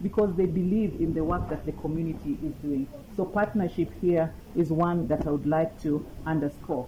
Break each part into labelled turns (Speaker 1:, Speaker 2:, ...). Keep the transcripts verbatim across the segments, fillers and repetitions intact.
Speaker 1: Because they believe in the work that the community is doing. So partnership here is one that I would like to underscore.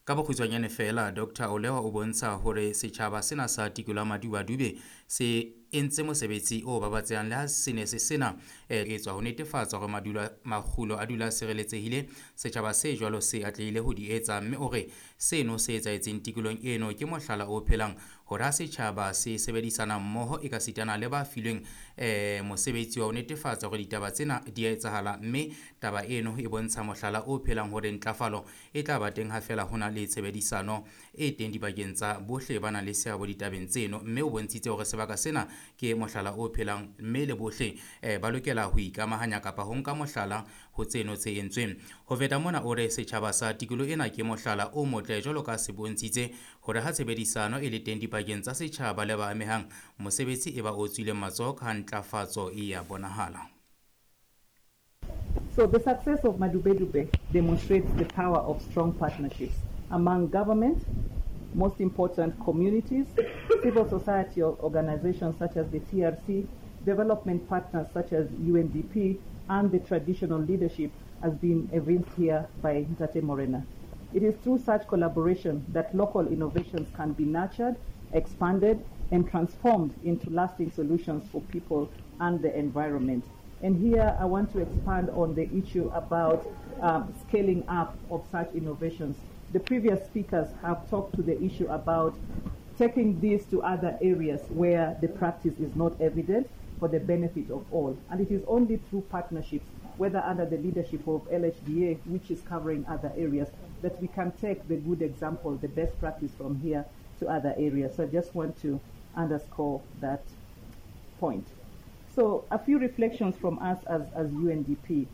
Speaker 2: Ka bokgutshwanyane feela, Doctor Olewa o bontsha hore setjhaba sena sa tikoloho ya Madubadube se entse mosebetsi o babatsehang le ha se ne se sena e etswa ho netefatsa hore madulo makgulo a dula a sireletsehile. Setjhaba se jwalo se atlehile ho di etsa, mme o re seno se etsahetseng tikolohong eno ke mohlala o phelang hore ha setjhaba se sebedisana mmoho e ka sitana le ba filweng eh mosebetsi wa ho netefatsa hore ditaba tsena di a etsahala, mme taba eno e bontsha mohlala o phelang hore ntlafalo e tla ba teng ha feela ho na le tshebedisano e teng dibakeng tsa bohle ba nang le seabo ditabeng tseno. Mme o bontshitse hore sebaka sena ke mohlala o phelang mme le bohle eh, ba lokela ho ikamahanya kapa ho nka mohlala ho tseno tse entsweng. Ho feta mona o re setjhaba sa tikoloho ena ke mohlala o motle jwalo ka se bontshitse hore ha tshebedisano e le teng dipakeng tsa setjhaba le ba amehang, mosebetsi e ba o tswileng matsoho ka ntlafatso e ya bonahala.
Speaker 1: So the success of Madubedube demonstrates the power of strong partnerships among government, most important communities, civil society organizations such as the T R C, development partners such as U N D P, and the traditional leadership as been evinced here by Ntate Morena. It is through such collaboration that local innovations can be nurtured, expanded, and transformed into lasting solutions for people and the environment. And here I want to expand on the issue about um, scaling up of such innovations. The previous speakers have talked to the issue about taking this to other areas where the practice is not evident for the benefit of all. And it is only through partnerships, whether under the leadership of L H D A, which is covering other areas, that we can take the good example, the best practice from here to other areas. So I just want to underscore that point. So a few reflections from us as, as U N D P.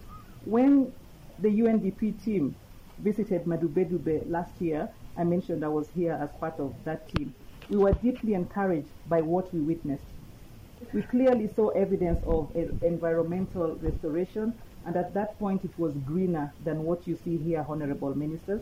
Speaker 1: When the U N D P team visited Madubedube last year, I mentioned I was here as part of that team. We were deeply encouraged by what we witnessed. We clearly saw evidence of environmental restoration, and at that point it was greener than what you see here, Honorable Ministers.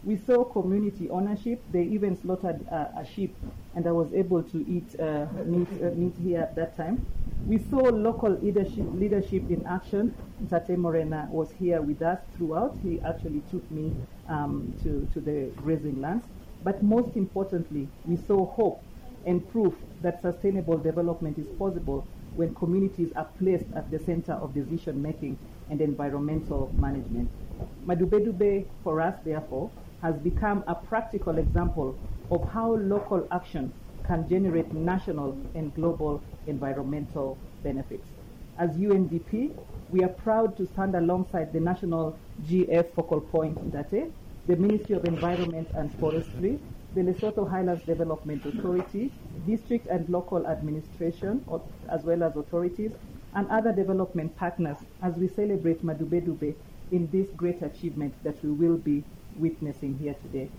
Speaker 1: We saw community ownership. They even slaughtered uh, a sheep, and I was able to eat, uh, meat, uh, meat here at that time. We saw local leadership, leadership in action. Ntate Morena was here with us throughout. He actually took me um, to, to the grazing lands. But most importantly, we saw hope and proof that sustainable development is possible when communities are placed at the center of decision-making and environmental management. Madubedube, for us, therefore, has become a practical example of how local action can generate national and global environmental benefits. As U N D P, we are proud to stand alongside the National G F Focal Point Ntate, the Ministry of Environment and Forestry, the Lesotho Highlands Development Authority, district and local administration, as well as authorities, and other development partners as we celebrate Madubedube in this great achievement that we will be witnessing here today.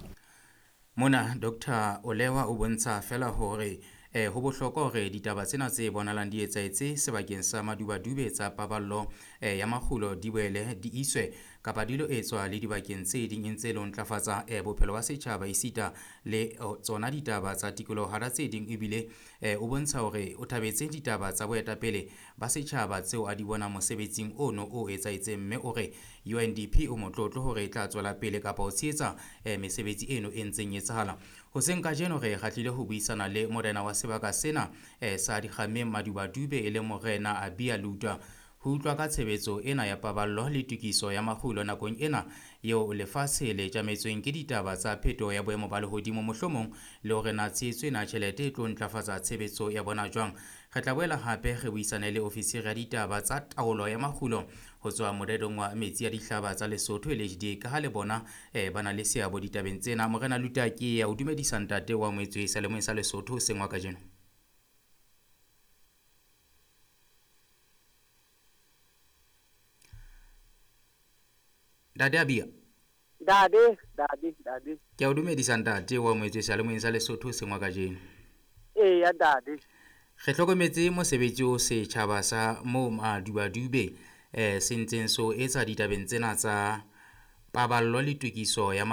Speaker 2: Mona Doctor Olewa o bontsha fela hore eh ho bohlokwa hore ditaba tsena tse bonalang di etsahetse sebakeng sa Madubadube tsa paballo eh ya makgulo di boele di iswe kapa di lo etswa le dibakeng tse ding ntse le ho ntlafatsa eh bophelo ba setjhaba esita le tsona ditaba tsa tikoloho hara tse ding. Ebile eh o bontsha hore o thabetse ditaba tsa boetapele ba setjhaba tseo a di bona mosebetsing ono o etsahetseng, mme o re U N D P o motlotlo hore e tla tswela pele kapa ho tshehetsa eh mesebetsi eno e ntseng etsahala. Hoseng kajeno re kgahlile ho buisana le morena wa sebaka sena eh sa Dikgameng Madubadube e le morena Abia Lutwa ho utlwa ka tshebetso ena ya paballo le tokiso ya makgulo nakong ena eo lefatshe le tjametsweng ke ditaba tsa phetoho ya boemo ba lehodimo, mohlomong le hore na tshehetso ena tjhelete e tlo ntlafatsa tshebetso ya bona jwang. Re tla boela hape re buisane le ofisiri ya ditaba tsa taolo ya makgulo ho tswa morerong wa metsi ya dihlaba tsa Lesotho L H D A, ka ha le bona eh ba na le seabo ditabeng tsena. Morena Lutwa, ke ya o dumedisa ntate wa moetswe selemong sa Lesotho sengwa kajeno. Ntate Abia.
Speaker 3: Dade, dade, dade.
Speaker 2: Ke a o dumedisa ntate wa moetswe selemong sa Lesotho sengwa kajeno.
Speaker 3: Ee ya dade.
Speaker 2: Re hlokometse mosebetsi o setjhaba sa moo Madubadube eh se ntseng so etsa ditabeng tsena tsa paballo le tokiso ya